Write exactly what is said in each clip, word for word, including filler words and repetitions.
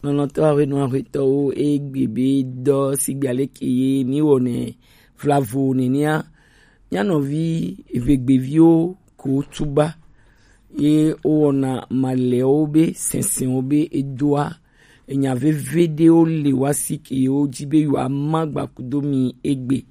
Nɔnɔtɔ awe nɔ awe tɔwo egbe be dɔ sigbe aleke ye mi wɔnɛ vlavo nenea. Mia nɔvi evegbeviwo ko tuba ye wowɔna malɛwo be sɛnsɛnwo be edoa enya veve ɖewo le wa si ke yewo dzi be yewoama gbakudo mi egbe.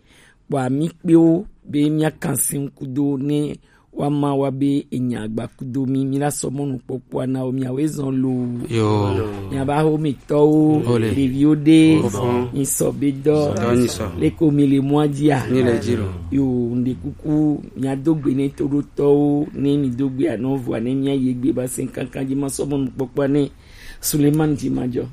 Kpɔa mi kpewo be mia kan si ŋkudo ne woama wa be enya gbakudo mi, mi la sɔ mɔnu kpɔkpɔa na wo, miawoe zɔn loo. Yo. Miaba ho mi tɔwo, Ole. Ɖeviwo ɖe, Ofɔn. Mi sɔ be dɔ, Dɔ ni sɔ. Leko mi le mɔa dzia. Mi le dzi lo. Yo, ŋɖe kuku, miado gbe ne toɖotɔwo, ne mi do gbe anɔ vɔa, ne mia ye gbe ba se kankan dzi ma sɔ mɔnu kpɔkpɔa ne Suleiman dzi ma dzɔ.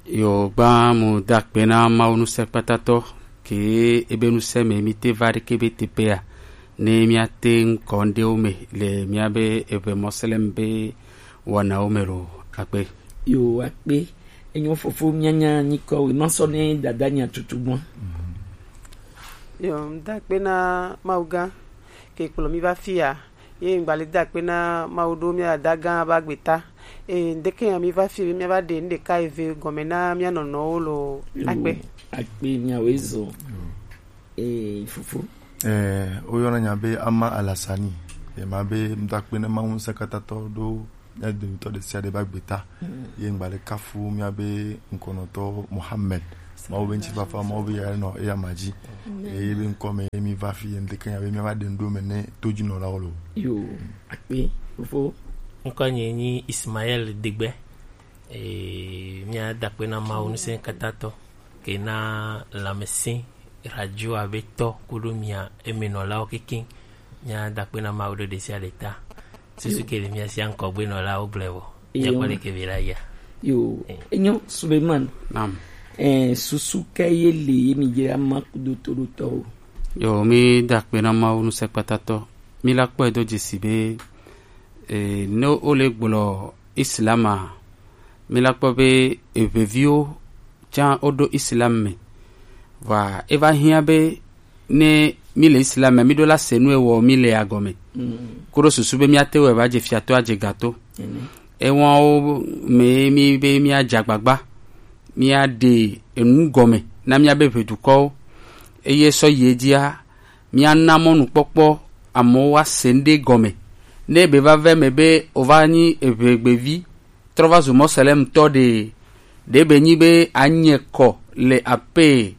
Yo, gba mu da akpe na Mawu ŋusẽkpɔtɔtɔ ke ebe ŋusẽ me mi te va ɖe ke be teƒea ne mia te ŋkɔ ŋɖewo me le mia be eve Moslem be wɔnawo me lo akpe. Yo, akpe. Enyo fofo mianya nyikɔ we ma sɔ ne dada nya tutu gbɔn. Yo, da akpe na Mawu gã ke kplɔ mi va fia. Ye ŋgba le da akpe na Mawu ɖo mia dada gã ba gbeta. E, ŋdeke ya mi va fi be mia va ɖe ŋɖeka eve gɔme na mia nɔnɔwo lo akpe. Akpe miawoe zɔ. E, fofo. Eh, woyɔna nya be Ama Alasani. Ye ma be ŋda akpe na Mawu ŋusẽkpɔtɔtɔ ɖo mia dometɔ ɖe sia ɖe ba gbeta. Ye ŋgba le kafu mia be ŋkɔnɔtɔ Mohammed. Mawu be ŋutifafa, Mawu be ya nɔ eya ma dzi. Eye be ŋkɔ me ye mi va fi ye ŋdeke nya be mia va ɖe ŋɖo me ne todzinɔlawo lo. Yo, akpe, fofo. Ŋkɔ nye nyi Ismael Degbe. Eh, mia da akpe na Mawu ŋusẽkpɔtɔtɔ ke na lãmesẽ radio abe tɔ kudo mia emenɔlawo kekeŋ. Mia da akpe na Mawu ɖe ɖe sia ɖe ta. Susu ke le mia sia ŋkɔgbenɔlawo gblẽ vɔ. Mia kpɔ ɖeke be la ya. Yo, enyo Suleiman. Naam. Eh, susu ke ye le ye mi je ama kudo toɖotɔwo. Yo, mi da akpe na Mawu ŋusẽkpɔtɔtɔ. Mi la kpɔe do dzesi be, eh, ne wole gblɔ Islam a, mi la kpɔ be eveviwo tsã woɖo Islam me. Vɔa, eva hiã be ne mi le Islam me, mi ɖo la se nu ewɔ mi le agɔme. Koɖo susu be miate wɔ va dze fiato adze gato. Ewɔwo me mi be miadze agbagba, miaɖe enu gɔme na miabe ʋedukɔwo. Eye sɔ yi edzia, miana mɔnukpɔkpɔ amewo woase ŋɖe gɔme. Ne be va ve me be wova nyi eʋegbevi, trɔ va zu Moslem tɔ ɖe, ɖe be nyi be anyɛ kɔ le ape,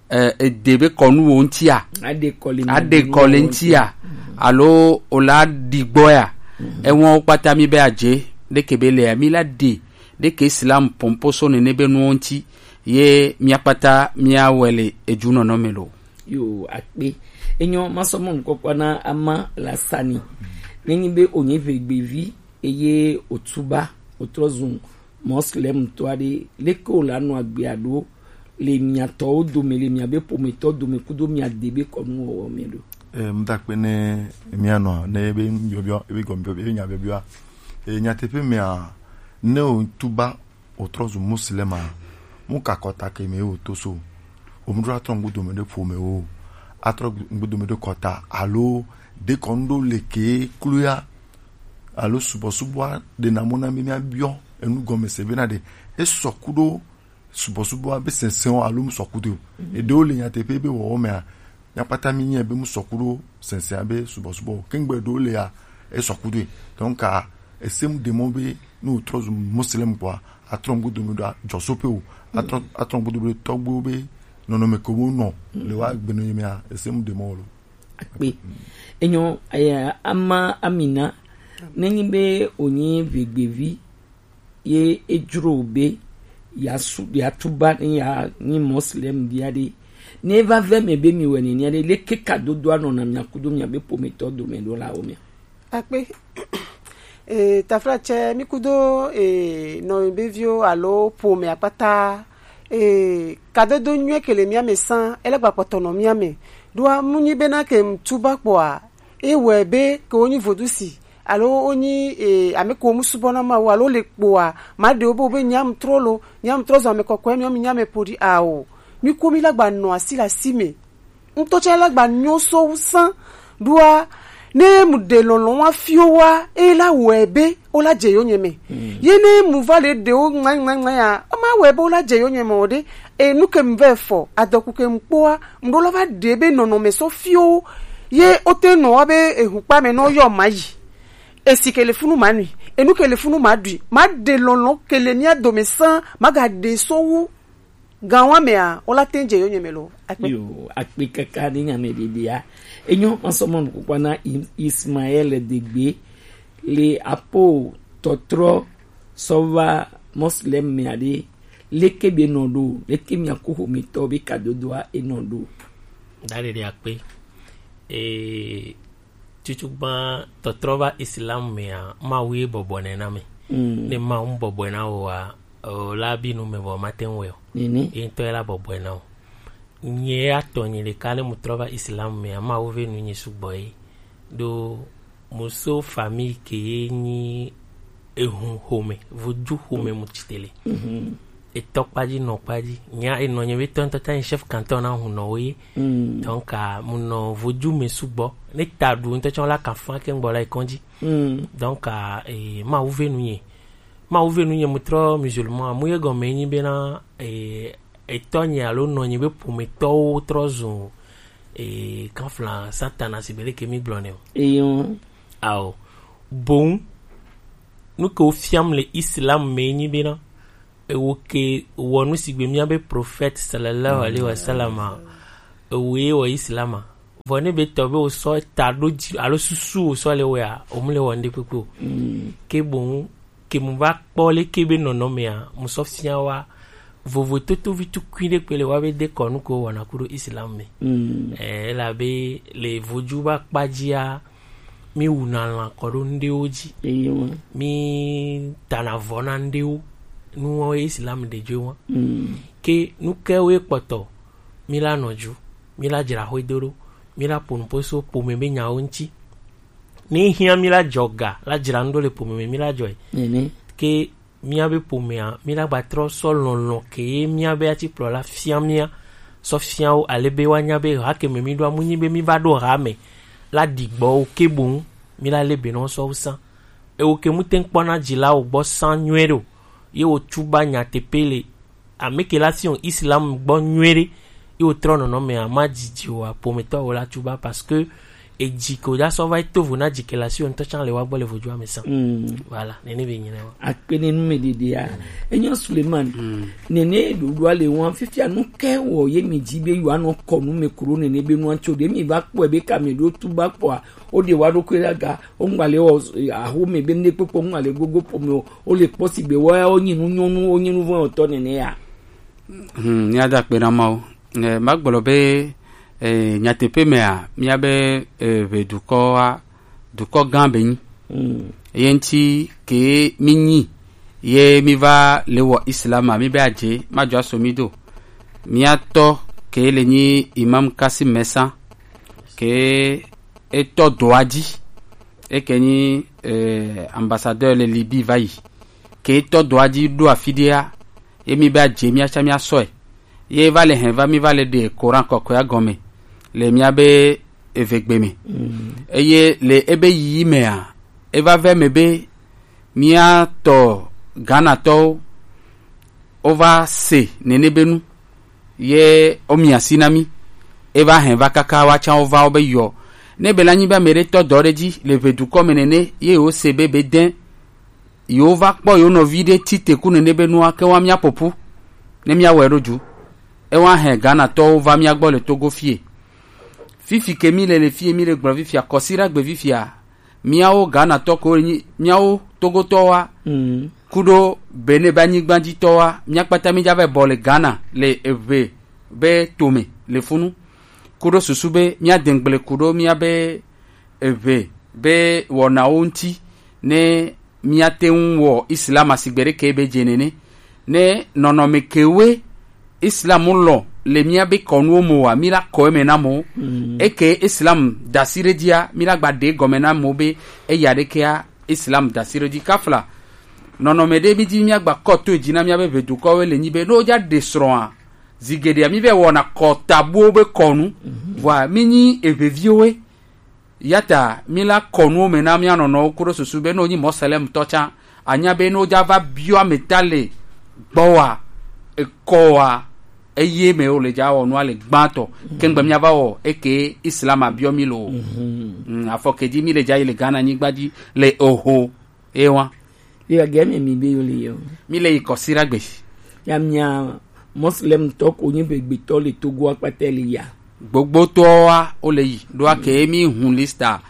eh, ede be kɔnuwo ŋutia, Aɖe kɔ le aɖe kɔ le ŋutia, alo o la ɖi gbɔ ya, ewɔn wo kpata mi be adze, ɖeke be le ya, mi la ɖe, ɖeke Islam pɔnpo so nene be nuwo ŋuti, ye mia kpata mia wɛ le eju nɔnɔ me lo. Yo, akpe. Enyo, masɔ mɔ nukpɔkpɔ na ama la sani. Nenyi be onye ʋegbevi, eye otuba, otrɔ zu Moslem tɔ aɖe, leke wòle anɔ agbe aɖo le miatɔwo dome, le miabe ƒometɔ dome kudo miade be kɔnuwɔwɔ me ɖo? E, mda akpe ne mianɔ ne ebe biɔbiɔ, ebe gɔme biɔbiɔ, ebe nya biɔbiɔ. E, nyateƒe mea, ne wòtuba wòtrɔ zu Moslema, mu ka kɔta ke me wòto so? Wòmuɖo atrɔ ŋgudome ɖe ƒome wo, atrɔ ŋgudome ɖe kɔta alo ɖe kɔnu ɖo le ke kloya? Alo subɔsubɔa ɖena mɔ na mí míabiɔ enu gɔme se bena ɖe esɔ ku ɖo subɔsubɔa be sɛnsɛn o alo mu sɔ ku ɖo o. Eɖewo le nyateƒe be wɔwɔ mea, míakpata mí nyae be mu sɔ ku ɖo sɛnsɛn be subɔsubɔ o. Kengbe ɖewo le ya, esɔ ku ɖoe. Donc, a, ese mu ɖe mɔ be ne wòtrɔ zu Moslem kpɔa, atrɔ ŋgudome ɖo adzɔsoƒe o. Atrɔ, atrɔ ŋgudome ɖo tɔgbuiwo be nɔnɔme ke wo nɔ le wa gbenɔnye mea, ese mu ɖe mɔ o lo. Akpe. Enyo, aya, ama Amina, nenyi be wònyi ʋegbevi, ye edzro be yeasu, yeatuba ne yeanyi Moslem via ɖe, ne eva ve me be mi wɔ nenea ɖe, leke kadodoa nɔna mia kudo miabe ƒometɔ dome ɖo la wo mea? Akpe. E, taflatse, mi kudo, e, nɔviviwo alo ƒomea kpata, e, kadodo nyuie ke le mia me sã, ele gba kpɔtɔ nɔ mia me. Ɖoa, mu nyi bena ke ŋtuba kpɔa, e wɔe be ke wonyi vodusi, alo wonyi, e, ame ko mu subɔna Mawu, alo le kpɔa, ma ɖewo be, wo be nyam trɔ lo, nyam trɔ zɔ ame kɔkɔe, miɔ mi nyame ƒoɖi ao. Mi ko mi la gba nɔ asi le asi me. Ŋutɔ tsã la gba nyo so wu sã ɖoa, ne mu ɖe lɔlɔ̃ wa fiwo wa, e la wɔe be wo la dze yo nye me. Ye ne mu va le ɖewo ŋma, ŋma, ŋma ya, Ma wɛ bo la je yo nyɛ mɔ de. E nu ke m vɛ fɔ adɔku ke m kpoa m ɖo la va ɖe be nɔnɔme sɔ fio ye o te nɔ wa be ehu kpa me nɔ yɔ ma yi. Esi ke le funu ma nui, enu ke le funu ma ɖui, ma ɖe lɔlɔ ke le mia dome san ma ga ɖe sɔ wu. Gan wa mea o la te je yo nyɛ mɛ lo. Akpe. Yo, akpe kaka ni nya me ɖeɖea. Enyo masɔmɔ nukukwa na Im- Ismael Degbe le apo tɔtrɔ sɔ va Moslem mea ɖe. Leke be nɔ ɖo, leke mia ku xometɔ be kadodoa e nɔ ɖo. Daɖeɖe akpe. Ee, tutugbã tɔtrɔ va Islam mea, Mawu ye bɔbɔnɛ na mi. Mm. Ne Mawu mu bɔbɔe na o wa, o la bi nu me vɔ ma te ŋu wɛ o. Nene. Ye ŋutɔ ye la bɔbɔe na o. Nye ya tɔ nye ɖeka ne mu trɔ va Islam mea, Mawu ve nu nye sugbɔ ye. Ɖo mu so famille ke ye nyi ehun xome, vodu xome mu tsi te le. Mhm. Etɔ kpadzi nɔ kpadzi. Nya enɔ nye be tɔ ŋutɔ ta nyi chef canton na hun nɔ wo ye. Mm. Donc, ah, mu nɔ vodu me sugbɔ. Ne ta ɖu ŋutɔ tsɔ la ka fa ke ŋgbɔ la ekɔn dzi. Mm. Donc, ah, eh, Mawu ve nu nye. Mawu ve nu nye mu trɔ musulman. Mu ye gɔme nyi bena, eh, etɔ nye alo nɔ nye be ƒometɔwo trɔ zun, eh, kanfla Satana si be leke mi gblɔ ne o. Eyo. Ao. Boŋ, nu ke wo fiam le Islam me nyi bena, ewo ke wɔ nu si gbe mía be prophète sallallahu alaihi wasallam a, ewo ye wɔ Islam a. Vɔ ne be tɔ be wo sɔ ta ɖo dzi alo susu wo sɔ le wɔa, o mu le wɔ ŋɖe kpekpe o. Mm. Ke boŋ ke mu va kpɔ leke be nɔnɔmea, mu sɔ fia wa vovo totovi tukui ɖe kpe le wa be de kɔnu ko wɔna ku ɖo Islam me. Mm. Eh, elabe le vodu va kpa dzia, mi wuna lã kɔ ɖo ŋɖewo dzi. Eyo. Mi tana vɔ na ŋɖewo. Nuwo ye Islam ɖe dzo wa. Mm. Ke nu ke wo ye kpɔtɔ, mi la nɔ dzu, mi la dzra xwe do ɖo, mi la ƒo nuƒo so ƒome be nyawo ŋuti. Ne hiã mi la dzɔ ga, la dzra nu ɖo le ƒome me, mi la dzɔe. Nene. Ke mía be ƒomea, mí la gba trɔ sɔ lɔlɔ̃ ke ye mía be atikplɔla fia mía, sɔ fia wo ale be woanya be ha ke me mí ɖoa, mu nyi be mí va ɖo ha me la ɖi gbɔ wo ke boŋ mí la lé be nɔ sɔ wo sã. Ewo ke mu te ŋkpɔna dzilawo gbɔ sã nyuie ɖo, ye wo tuba nyateƒe le ame ke la si Islam gbɔ nyuie ɖe, ye wo trɔ nɔnɔmea ma dzidzi o, ƒometɔ wo la tuba parce que edzi ko da sɔ va yi to vo na dzi ke la si wo ŋutɔ tsã le wa gbɔ le vodua me sã. Mm. Voilà, nene be nyina wa. Akpe ne nu me ɖeɖea. Enyo Suleiman. Mm. Nene ɖoɖoa le wa fifia nu ke wɔ ye mi dzi be yewoanɔ kɔ nu me kuro nene be nua tso ɖe mi va kpɔe be ka me ɖo tuba kpɔa, wo ɖe wa ɖokui ɖe aga, wo ŋgba le wɔ, eh, aho me be ne kpekpe ŋgba le gogo ƒome o, wo le kpɔ si be wa wo nyi nu nyɔnu, wo nyi nu vɔ tɔ nene ya. Hmm, mía da akpe na Mawu. Eh, magblɔ be, eh, nyateƒe mea, míabe, eh, ʋe dukɔa, dukɔ gã be nyi. Mm. Ye ŋuti ke mi nyi, ye mi va le wɔ Islam a, mi be adze, ma dzɔ aso mi do. Mía tɔ ke le nyi Imam Kasim Mesa, ke etɔ doa dzi, eke nyi, eh, ambassadeur le Libye va yi. Ke etɔ doa dzi ɖo afi ɖea, ye mi be adze mía tsã mía sɔe. Ye va le hɛn va mi va le ɖe Koran kɔkɔea gɔme le mía be evegbe me. Mm. Eye le ebe yiyi mea, eva vɛ me be mía tɔ Ghana tɔwo wova se nene be nu ye wo mi asi na mi. Eva hɛn va kaka wa tsã wova wo be yɔ. Ne be la nyi be ame ɖe tɔ dɔ ɖe dzi le ʋe dukɔ me nene ye wo se be be dɛn yewo va kpɔ yewo nɔvi ɖe ti te ku nene be nua ke wa mía ƒoƒu ne mía wɔe ɖo dzu. Ewa hɛn Ghana tɔwo va mía gbɔ le Togo fie. Fifi ke mi le le fie mi le gblɔ fifia kɔsi ɖa gbe fifia. Míawo Ghana tɔ ko nyi míawo Togotɔwoa. Mm. Kuɖo Benin be anyigba dzi tɔwoa, mía kpata mí dza va bɔ le Ghana le eve be tome le funu. Kuɖo susu be mía dengble kuɖo mía be eve be wɔnawo ŋuti ne míate ŋu wɔ Islam asigbe ɖeke be dze nene. Ne nɔnɔme kewoe Islam lɔ le mía be kɔnuwo me wa, mí la kɔ eme na mo. Mm. Eke Islam dasi ɖe dzia, mí la gba ɖe gɔme na mo be eya ɖekea Islam dasi ɖe dzi. Kafla nɔnɔme ɖe mí dzi mía gba kɔ to dzi na mía be ʋe dukɔwo le nyi be ne wodza ɖe srɔ̃a, zi geɖea mí vɛ wɔna kɔ tabuwo be kɔnu. Mhm. Vɔa mí nyi eʋeviwoe. Yata mí la kɔ nuwo me na mía nɔnɔwo kuɖo susu be ne wonyi Moslem tɔ tsã, anya be ne wodza va biɔ ame ta le gbɔwòa, ekɔ wa, eye me wo le dza wɔ nua le gbãtɔ. Kengbe mía va wɔ eke Islam abiɔ mi lo. Mm, afɔ ke dzi mi le dza yi le Ghana nyigba dzi le oho. Ewa. Ye ge mi mi be yo le yo. Mi le yi kɔsi ɖagbe. Ya mia Muslim tɔ ko nyi be gbetɔ le Togo akpata le ya. Gbogbotɔa wo le yi ɖo ake mi hun lista.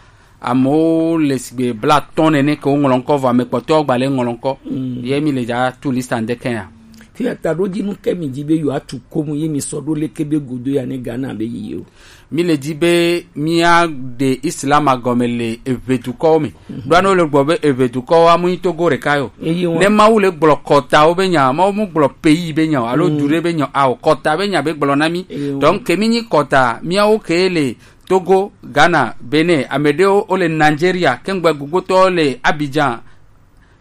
Amewo le sigbe bla tɔn nene ke wo ŋlɔ ŋkɔ vɔ ame kpɔtɔwo gba le ŋlɔ ŋkɔ. Ye mi le dza tu lista ŋdeke ya. Fi ata ɖo dzi nu ke mi dzi be yo atu komu ye mi sɔ ɖo leke be godo ya ne Ghana be yi yo. Mi le di be mía ɖe Islam agɔme le eʋe dukɔwo me. Ɖoa ne wole gblɔ be eʋe dukɔwo amu nyi Togo ɖeka yo. Ne Mawu le gblɔ kɔtawo be nya, Mawu mu gblɔ pays be nya o, alo du ɖe be nya o, kɔta be nya be gblɔ na mi. Donc ke mi nyi kɔta, míawo ke le Togo, Ghana, Benin, ame ɖewo wole Nigeria, kengbe gbogbotɔwo le Abidjan.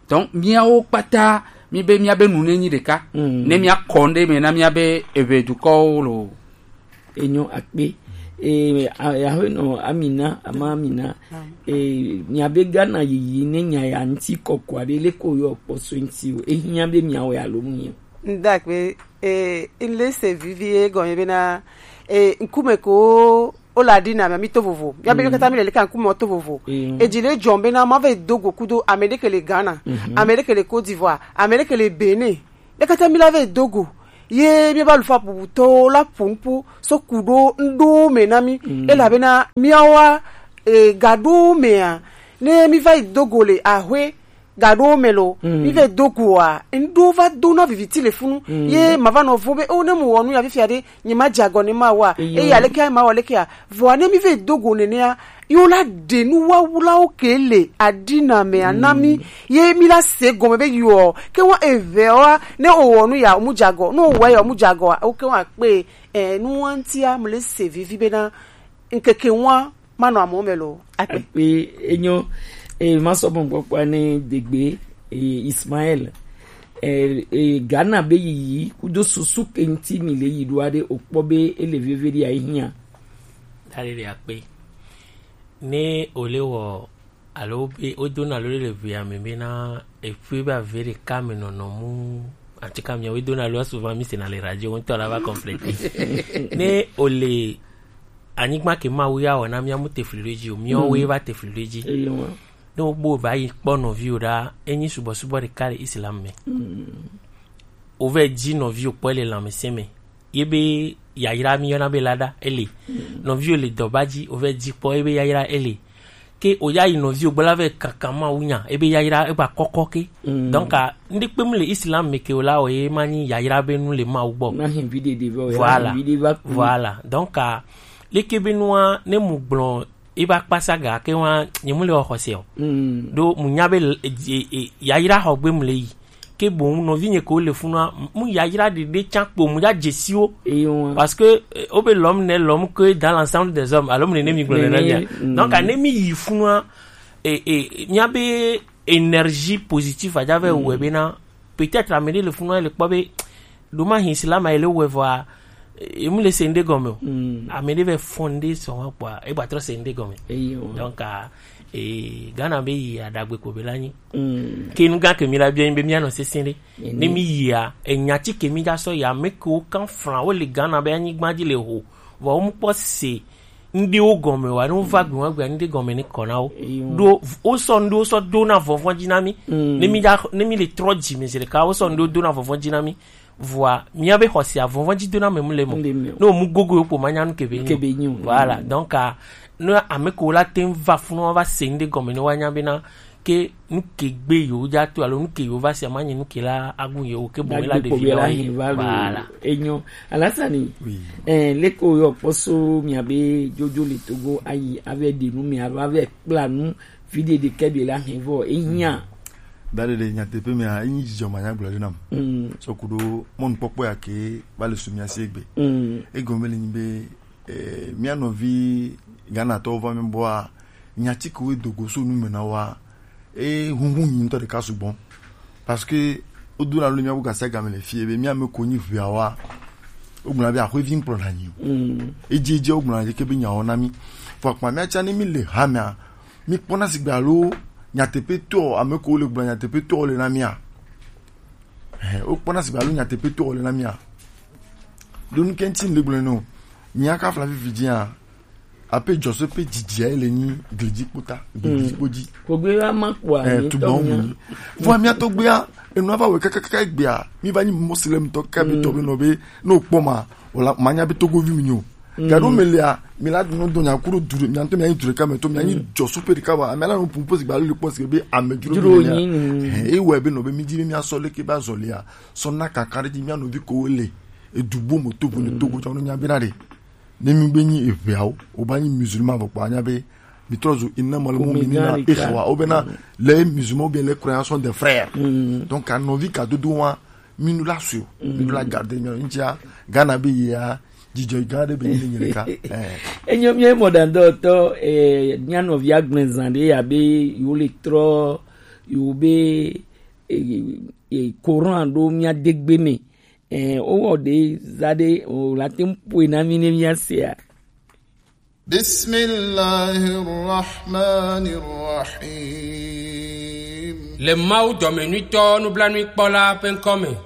Donc míawo kpata mi be míabe nu ne nyi ɖeka. Ne mía kɔ ŋɖe me na míabe eʋe dukɔwo lo. Enyo akpe. E, a- aƒenɔ Amina, ama Amina. E, miabe Ghana yiyi ne nya ya ŋti kɔkɔ aɖe le ko yɔ kpɔsɔ ŋti o. Ehiã be miawo ya lo mu nyi. Ndakpe, e, nle se vivi egɔme bena, e, ŋkume ko o la di na mi to vovo. Miabe katã mi le le ka ŋkume to vovo. Edzi le dzɔm bena ma ve do go kudo ame ɖe ke le Ghana, ame ɖe ke le Côte d'Ivoire, ame ɖe ke le Benin. Ɖe katã mi la ve do go. Ye mi ba lufa bubutɔwo la ƒo nu ƒu so ku ɖo ŋɖo me na mi. Elabena miawoa, e, ga ɖo mea, ne mi va yi do go le aƒe ga ɖo me lo, mi ve do goa, ŋɖo va do na viviti le funu. Ye ma va nɔ vo be, o, ne mu wɔ nu ya fifia ɖe, nye ma dze agɔ ne ma wa. Eye aleke ma wɔ leke ya? Vɔa ne mi ve do go nenea, yo la ɖe nu wawulawo ke le aɖina mea na mi. Ye mi la se gɔme be yo ke wa eve wa ne o wɔ nu ya o mu dze agɔ, ne o wɔ ya o mu dze agɔ, o ke wa kpe, e, nu wa ŋtia mu le se vivi bena ŋkeke wa manɔ amewo me lo. Akpe. Akpe, enyo. E, masɔ mɔgbɔkpɔa ne degbe, e, Ismael. E, e, Ghana be yiyi kudo susu ke ŋti mi le yi ɖoa ɖe o kpɔ be ele veve ɖi ayi hiã. Dali ɖe akpe. Ne o le wɔ alo be o dona lo le ʋea me bena eƒe be ave ɖeka me nɔnɔ mu, en tout cas miawo dona lo souvent mi sena le radio ŋutɔ la va compléter. Ne o le anyigba ke Mawu ya wɔ na mía mu tefli ɖo edzi o, míawo ye va tefli ɖo edzi. Ne wogbo va yi kpɔ nɔviwo ɖa, enyi subɔsubɔ ɖeka le Islam me. Wovɛ dzi nɔviwo kpɔ le lãmesẽ me. Ye be yayra mi yɔna be lada ele. Nɔviwo le dɔba dzi, wovɛ dzi kpɔ ye be yayra ele. Ke o ya yi nɔviwo gbɔ la vɛ kaka Mawu nya, ye be yayra e gba kɔkɔ ke. Donc a, ŋɖe kpem le Islam me ke o la o ye ma nyi yayra be nu le Mawu gbɔ. Na hin vi ɖeɖe vɛ o ya. Voilà. Hin vi ɖe va ku. Voilà. Donc a, leke be nua ne mu gblɔ e va kpasa ga ke wa nye mu le xɔse o. Ɖo mu nya be le- e- e- e- yayra xɔ gbe mu le yi. Ke boŋ nɔvinye ko le funua, mu yayra ɖeɖe tsã kpo mu ya dzesiwo. Parce que, eh, o be l'homme n'est l'homme que dans l'ensemble des hommes. Alors mu ne mi gblɔ le na mia. Donc ne mi yi funua, e e mia be énergie positive a ja vɛ wɛ bena peut-être ame ɖe le funua le kpɔ be ɖo ma hin sila ma ele wɛ vɔa, e mu le se ŋɖe gɔme o. Ame ɖe vɛ fɔ ŋɖe sɔ wa kpɔa e gba trɔ se ŋɖe gɔme. Donc a, e Ghana be yi aɖagbe ko be la nyi. Ke nu gã ke mi la bia nyi be mia nɔ sese ɖe. Ne mi yia, enya ti ke mi ja sɔ ya, ame ke wo kan flan wo le Ghana be anyigba dzi le ho. Vɔ wo mu kpɔ se ŋɖewo gɔme wa, ne wova gbe wa gbe ŋɖe gɔme ne kɔ na wo. Ɖo wo sɔ ŋɖewo sɔ do na vɔvɔ̃ dzi na mi. Ne mi ja ne mi le trɔ dzi me zi ɖeka, wo sɔ ŋɖewo do na vɔvɔ̃ dzi na mi. Vɔa mia be xɔsia vɔvɔ̃ dzi do na me mu le mo. Ne wo mu gogo yo kpo ma nya nu ke be nyi. Voilà, donc a, ne ame ke wo la te ŋu va funu wa va se ŋɖe gɔme ne wa nya be na ke nu ke gbe yewo dza to alo nu ke yewo va sia ma nye nu ke la agu yewo ke boŋ la ɖevi la yi. Voilà. Enyo. Alasani. Oui. Eh, leke wo yɔ kpɔso mia be jojo le Togo ayi ave ɖe nu mi alo ave kpla nu vi ɖe ɖe ke be la hɛn vɔ ehiã. Da ɖe ɖe nyateƒe mea enyi dzidzɔ ma nya gblɔ ɖe nam. Sɔ ku ɖo mɔnukpɔkpɔ ya ke va le su mia si egbe. Egɔme le nyi be eh, mía nɔvi Ghanatɔwo va mía gbɔa, nya ti ke wodo go so nu me na woa, e hunhun nyi ŋutɔ ɖeka sugbɔ. Parce que wodona lo mía bu gasi agame le fie be mía me ko nyi ʋeawoa, wogblɔna be axwevi ŋkplɔ na nyi o. Edzi edzi wogblɔna ke be nyawo na mí. Vɔ akpa mía tsã ne mí le hamea, mí kpɔna sigbe alo nyateƒetɔ, ame ko le gblɔ nyateƒetɔ le na mía. Eh, Wokpɔna sigbe alo nyateƒetɔ wòle na mía. Ɖo nu ke ŋuti le gblɔe nɔ. Mía ka fla fifi dzia, ape dzɔso pe dzidzia le nyi glidzi kpota, glidzi kpo dzi. Kogbe wa ma kpɔa, eh, mi tu tɔ bɔn mía. Mu. Vɔ mía tɔgbea, enu ava wɔ kakakaka egbea, mi va nyi Muslim tɔ ka be tɔ be nɔ be, no kpɔ ma, wala, ma nya be Togovi mi nyo. Gaɖo me lea, mi la nɔ dɔ nya kuro du ɖe, mia ŋutɔ mia nyi du ɖeka me tɔ, mia nyi dzɔsu pe ɖeka wa, amea la nɔ pumpo sigbe alo le kpɔ sigbe be ame dzro mi nyi. He, ewɔe be nɔ be mi di be mia sɔ leke ba zɔlia, sɔ na kaka ɖe dzi mia nɔvi ko le edu bo mo to bo ne Togo tsɔ no mia be na ɖe. Ne mi be nyi eʋeawo, o ba nyi musulman vɔ kpɔ anya be mi trɔ zu innamal mu'minina ikhwa, o be na les musulmans ou bien les croyants sont des frères. Donc, à nɔvi ka dodo wa, mi nu la su, mi nu la garder, mi nu tia, Ghana be ya, dzidzɔ gã ɖe be nyi ne nyere ka. Eh. Enyo mi mɔ dan dɔ tɔ, eh, mia nɔvi agblẽ zã ɖe ya be yo le trɔ, yo be, eh, eh, Coran ɖo mia degbe me. Eh, o wɔ ɖe za ɖe, o la te ŋu ƒoe na mi ne mia sea. بسم الله الرحمن الرحيم. Le Mawu dɔmenyuitɔ nublanuikpɔla ƒe ŋkɔ me.